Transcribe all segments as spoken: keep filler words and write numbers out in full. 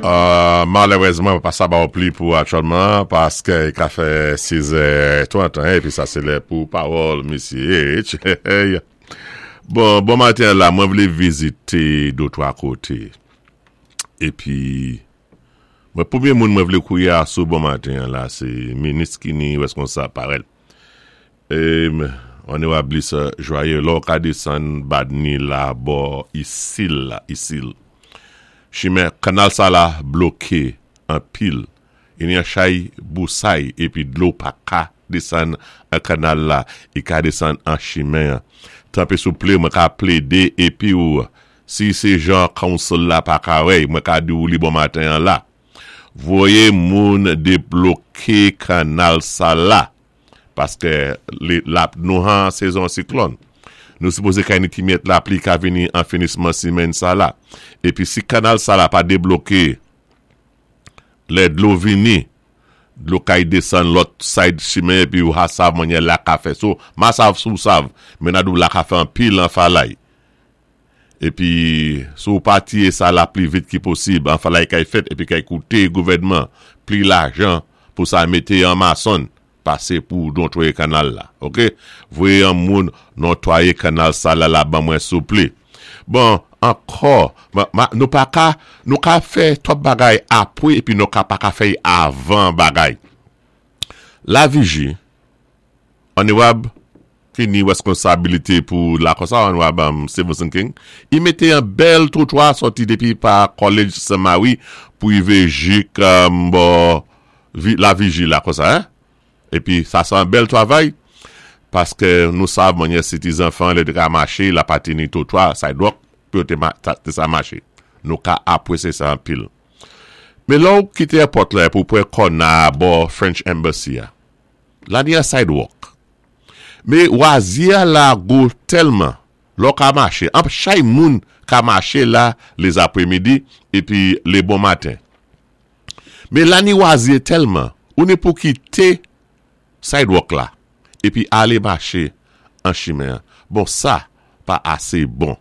Euh, malérézman, pa sa ba ou pli pou aktyèlman, paské i ka fè sis è trant, épi sa sé lè pou pawòl Misye H. Bon, bon maten la, mwen vlé vizité dé twa koté. Épi, mwen pwémyé moun mwen vlé kouwé asou bon maten la, sé minis ki ni wèskonsab parèl. É, Onorab Lisa Joyeux, lò ka désann Badni la bò isil la, isil. Chimen, kanal sa la bloké an pil. I ni an chay bousay épi dlo pa ka désann an kanal la, i ka désann an chimen. Tanpwi souplé, mwen ka plédé épi ou, si sé jan council la pa ka wè, mwen ka di ou li bon maten an la. Voyé moun débloké kanal sa la, paské la, nou an sezon siklòn. Nou sipozé ka ni ti myèt lapli ka vini an finisman simenn sa la. Épi si kanal sa la pa débloké, lè dlo vini, dlo kay désann lòt side chimen épi ou ha sav manyè la ka fè. So, ma sav sou sav, men adou la ka fè an pil an falay. Épi, sou pati sa la pli vit ki posib, an falay kay fèt, épi kay kouté gouvèdman, pli lajan pou sa mété an mason, pasé pou nontwayé kanal la. Ok? Voyé an moun nontwayé kanal sa la la ban mwen souplé. Bon, ankò, nou pa ka, nou ka fè twòp bagay apwé, épi nou ka pa ka fè avan bagay. La Vigie, Onorab ki ni wèskonsabilité pou la konsa, Onorab um, Stevenson King, i mété an bèl twotwa sòti dépi pa College Saint-Marie pou i vé jik um, bò, La Vigie la konsa, hein? Épi sa sé an bèl twavay, paské nou sav manyè si ti zanfan lè té ka maché, la pa té ni twotwa, sidewalk, pou yo té sa maché. Nou ka apwésyé sa an pil. Men lò ou kité airport la pou pwé kòna bò French Embassy ya, la ni a sidewalk. Men wazye la go tèlman, lò ka maché, an chay moun ka maché la les après-midi épi les bon matin. Men la ni wazye tèlman, ou ni pou kité sidewalk la, épi alé maché an chimen. Bon, sa, pa asé bon.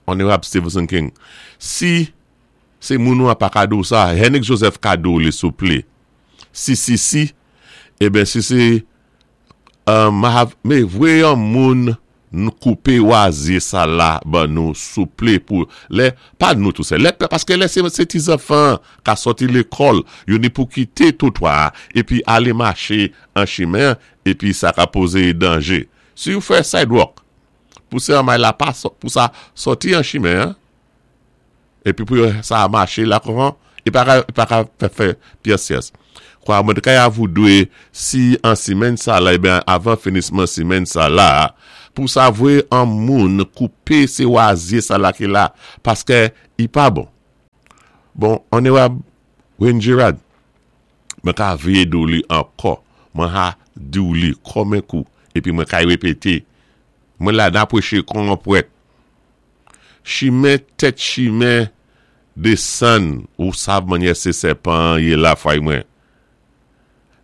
Onorab Stevenson King, si sé moun nou a pa ka di ou sa, Henrik Joseph ka di ou li souplé. Si, si, si, eben si sé, um, me voyé an moun nou koupé wazye sa la ban nou souplé pou, lè, pa nou tou sé, lè, paské lè sé, sé ti zanfan ka sòti lékòl, yo ni pou kité twotwa, épi alé maché an chimen, épi sa ka pozé danjé. Si ou fè sidewalk, pou sé an may la pa, pou sa sòti an chimen, épi pou sa maché la kouran, i pa ka, pa ka fè fè pyès pyès. Kwa mwen kay avou dwé, si an simenn sa la, eben avan finisman simenn sa la, pou sa voyé an moun koupé sé wazye sa la ki la, paské i pa bon. Bon, Onorab Wayne Girard, mwen ka veye di ou li ankò, mwen ha di ou li kòmen kou, épi mwen kay wépété, mwen la nan pwéché kon an pwèt. Chimen tèt chimen désann, ou sav manyè sé sèpan yé la fway mwen.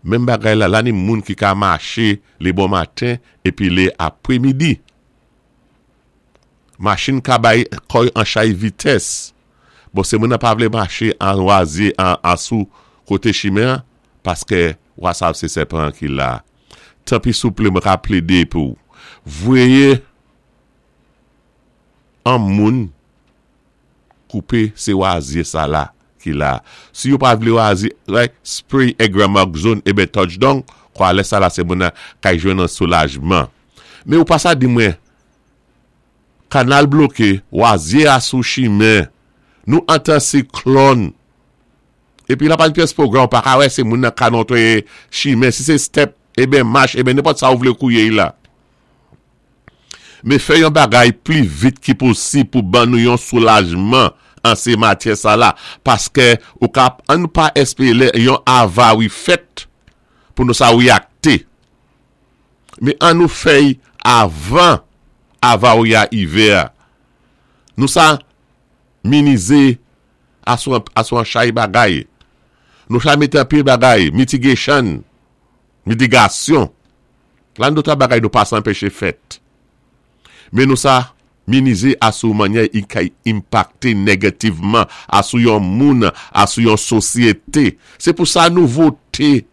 Menm bagay la, la ni moun ki ka maché lé bon maten épi lé apwémidi. Machin ka bay koy an chay vitès. Bon, sé moun nan pa vlé maché an wazye, an, an sou koté chimen, paské wasav sé sèpan ki la. Tanpwi souplé mwen ka plédé pou. Voyé an moun koupé sé wazye sa la ki la. Si yo pa vlé wazye, like, spray Gramoxone eben touchdown, kwa lè sa la sé moun nan kay jwenn an soulajman. Men ou pa sa di mwen, kanal bloké, wazye a sou chimen, nou antan siklòn, épi la pa ni pyès pwogram, pa ka wè sé moun nan ka nontwaye chimen, si sé step, eben mach, eben nenpòt sa ou vlé kouwé la. Men fè yon bagay pli vit ki posib pou ban nou yon soulajman an sé matyè sa la, paské ou ka, an nou pa espéré yon avari fèt pou nou sa wéyakté. Men an nou fèy avan avari a ivé. Nou sa minizé asou an chay bagay. Nou sa mété an pil bagay, mitigation, mitigasyon. Lan dota bagay nou pa sa anpéché fèt. Men nou sa Minizé asou mannyè i ka enpakté négativman asou yon moun, asou yon sosyété. Sé pou sa nou voté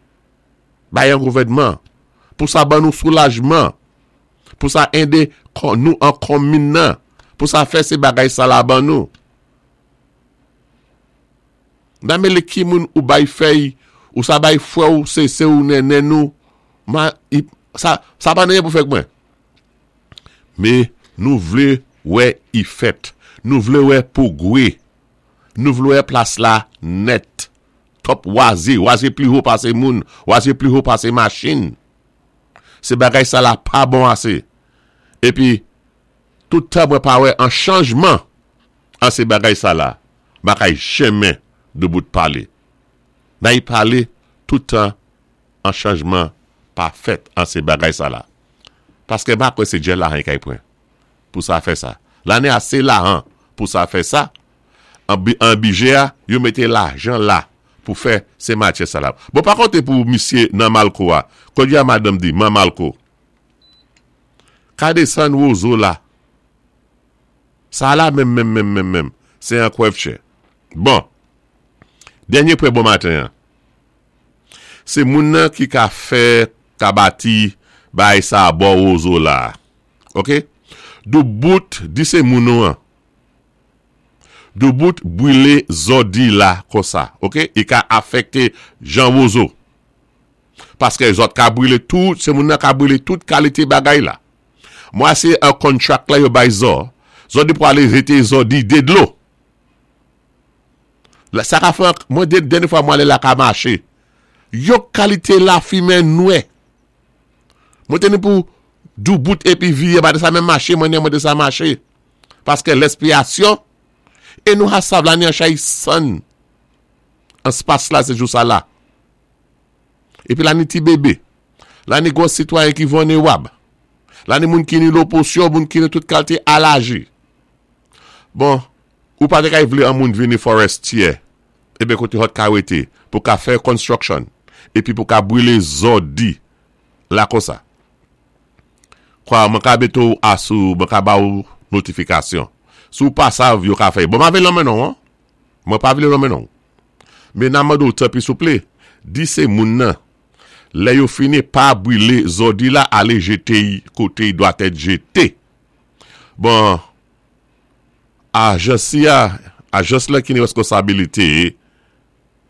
bay yon gouvèdman. Pou sa ban nou soulajman. Pou sa édé nou an konmin nan. Pou sa fè sé bagay sa la ban nou. Nan mélé ki moun ou bay fèy, ou sa bay fwè ou sé sè ou nènè nou, ma, i, sa, sa pa anyen pou fè mwen. Mé nou vlé wè i fèt. Nou vlé wè pwogwé. Nou vlé wè plas la nèt. Twòp wazé, wazé pli wo pasé moun, wazé pli wo pasé machin. Sé bagay sa la pa bon asé. Épi, tout tan mwen pa wè an chanjman an sé bagay sa la, m pa kay janmen doubout palé. Nay palé tout tan an chanjman pa fèt an sé bagay sa la. Paské m pa kwè sé djèl lahan kay pran pou sa fè sa. La ni asé lahan pou sa fè sa. An, an bidjè a, yo mété lajan la pou fè sé matyè sa la. Bon, pa konté pou misyé nan Malco a. Kon a madanm di, man Malco. Ka désann wozo la. Sa la menm menm menm menm menm. Sé an kwèvchè. Bon. Dènyé pwen bon maten. Sé moun nan ki ka fè ka bati bay sa bò wozo la. OK? Doubout di sé moun nou an. Doubout bwilé zòdi la konsa, OK? I ka afèkté jan wozo. Paské zòt ka bwilé tout, sé moun nan ka bwilé tout kalité bagay la. Mwa sé an contract la yo bay zò. Zòdi pou alé jété zòdi dé dlo. La, sa ka fè, mwen dènyé fwa mwen alé la ka maché. Yo kalité lafimen nwè. Mwen té ni pou doubout épi viyé, ba de sa menm maché, mwen mwen de sa maché. Paské lèspirasyon, é nou ha sav la ni an chay san. An spas la, sé jou sa la. Épi la ni ti bébé. La ni gwo sitwayen ki vilnérab. La ni moun ki ni loposyon, moun ki ni tout kalité alaji. Bon, ou pa té kay vlé an moun vini Forestier, ébé koté hot ka wété, pou ka fè construction, épi pou ka bwilé zòdi, la konsa. Kwa, mwen ka bété ou asou, mwen ka ba ou notifikasyon. Sou pa sav, yo ka fè. Bon, ma vle lonmen non, mwen pa vle lonmen non. Mé nan mande ou tanpri souplé, di sé moun nan, lè yo fini pa bwilé zòdi la, alé jété koté dwa èt jété. Bon, ajans ya, ajans la ki ni responsabilité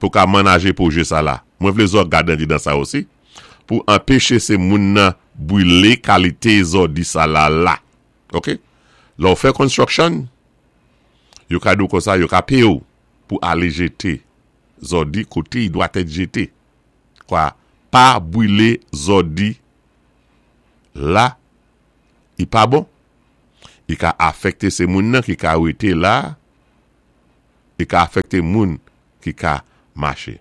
pou ka manajé pwojé sa la. Mwen vlé zò gadan di dan sa osi, pou anpéché sé moun nan bwilé kalité zòdi sa la la. OK? Lè ou fè construction, yo ka di konsa, yo ka péyé ou pou alé jété zòdi koté i dwa èt jété. Kwa, pa bwilé zòdi la, i pa bon. I ka afèkté sé moun nan ki ka wété la, i ka afèkté moun ki ka maché.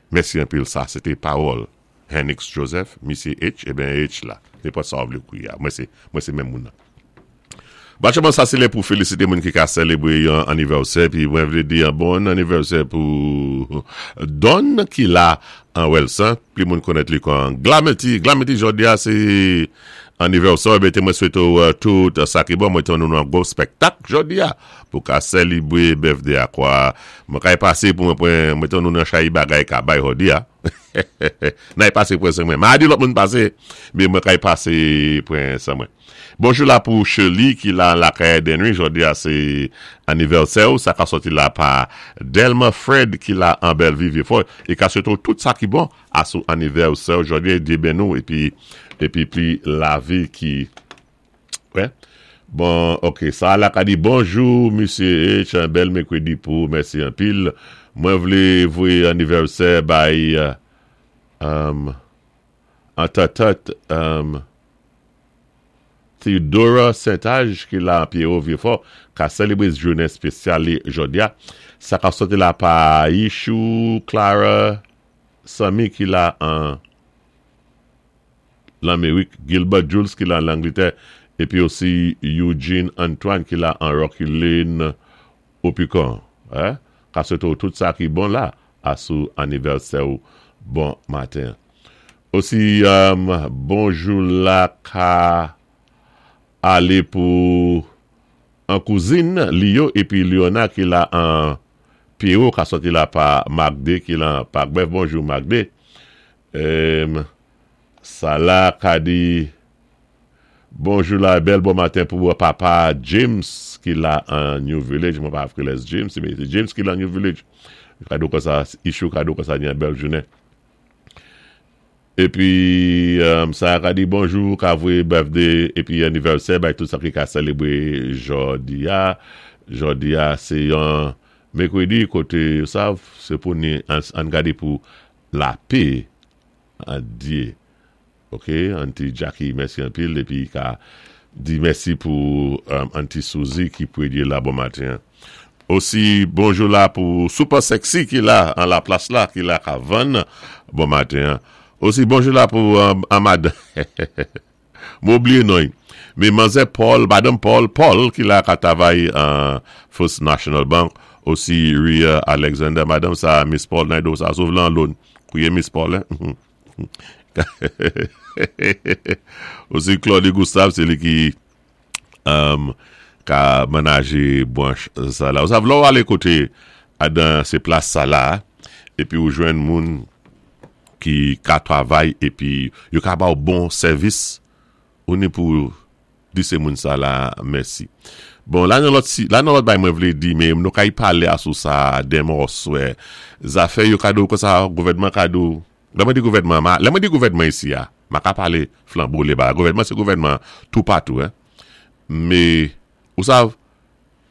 Mèsi anpil sa, sé té pawòl Henix Joseph, Misye H, ébyen H la. Nenpòt sa ou vlé kwié. Mwen sé, mwen sé menm moun nan. Bachman sa sé lè pou félisité moun ki ka sélébwé yon anivèsè pi mwen vlé di yon bon anivèsè pou Don ki la an Welson, pi moun konnèt li kon Glameti, Glameti jòdi a sé anivèsè, bé mwen swété ou tout sa ki bon, mwen té nou nan gwo spèktak jòdi a pou ka sélébwé birthday a kwa. Mwen kay pasé pou mwen mwen mwen nou nan chay bagay ka bay jòdi a. Nay pasé pran san mwen. Ma di lòt moun pasé, mé mwen kay pasé pran san mwen. Bonjou la pou Shirley ki la lakay Denry, jòdi a sé anivèsè ou, sa ka sòti la pa Delma Fred ki la an Bellevue Vieux-Fort, é ka swété tout sa ki bon asou anivèsè jòdi a, Dye béni nou épi épi pi lavi ki wè. Bon, OK, sa la ka di bonjou misye H, yon bèl mèkrèdi pou mèsi anpil. Mwen vlé voyé anivèsè bay um, an tatat um, Theodora Saint-Age ki la Pierrot Vieux-Fort ka sélébwé jounen spésyal jòdi a. Sa ka sòti la pa Yishou, Clara, Sami ki la an Lamérik, Gilbert Jules ki la an Langlétè, épi osi Eugene Antoine ki la an Rocky Lane, Opicon. Hein? Ka swété tout sa ki bon la asou anivèsè ou bon maten. Osi, um, bonjou la ka alé pou An kouzin Lio épi Liona ki la an Pierrot ka sòti la pa Magde ki la pa Bèf. Bonjou, Magde. Um, sa la ka di bonjou la, bèl bon maten pou papa James ki la an New Village. Mwen pa les James, mé sé James ki la New Village. Kado kon sa, ichou kado kon sa, ni bèl jounen. Épi um, sa ka di bonjou, ka voyé birthday épi anniversaire bay tout sa ki ka sélébwé jòdi a. Jòdi a, sé yon mèkwédi koté sa, sé pou ni an, an gadé pou lapè an Dyé. OK, Auntie Jackie, mèsi anpil épi ka di mèsi pou um, Auntie Suzy ki pwédyé la bon maten. Osi bonjou la pou Super Sexy ki la an la plas la ki la ka vann bon maten. Osi bonjou la pou um, Amad. Mwen oubliyé non. Mé manzè Paul, Madanm Paul, Paul ki la ka travay an First National Bank. Osi Ria Alexander, Madanm sa Miss Paul Naido sa sauve lan loan. Kouye Miss Paul, hein. Osi Claude Gustave, sé li ki um, ka manajé branch sa la. Ou sav, lè ou alé koté adan sé plas sa la, épi ou jwenn moun ki ka travay épi yo ka ba ou bon sèvis, ou ni pou di sé moun sa la mèsi. Bon, la nan lòt si, la nan lòt bay mwen vlé di, mé nou ka y palé asou sa denmen oswè. Zafè yo ka di ou kon sa, gouvèdman ka di ou, lè mwen di gouvèdman, ma, lè mwen di gouvèdman isi ya, ma ka palé flanbo lé ba. Gouvèdman sé gouvèdman tout patou, hein. Mé, ou sav,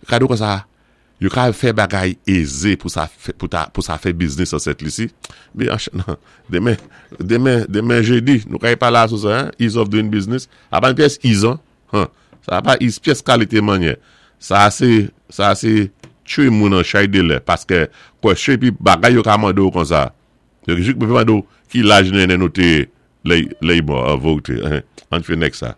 ka di ou kon sa, yo ka fè bagay ézé pou sa fè, pou ta, pou sa fè business an Sent Lisi. Mé, an, nan, denmen, denmen, denmen jédi, nou ka y palé asou sa, hein, ease of doing business. A pa pyès ease, hein, hein. Sa pa ease pyès kalité manyè. Sa sé, sa sé tchwé moun an chay dé lè, paské kwèsyon épi bagay yo ka mandé ou kon sa. Yo jis mande ou ki laj nènèn nou té lè lè bon voté. Hein. An fè next sa.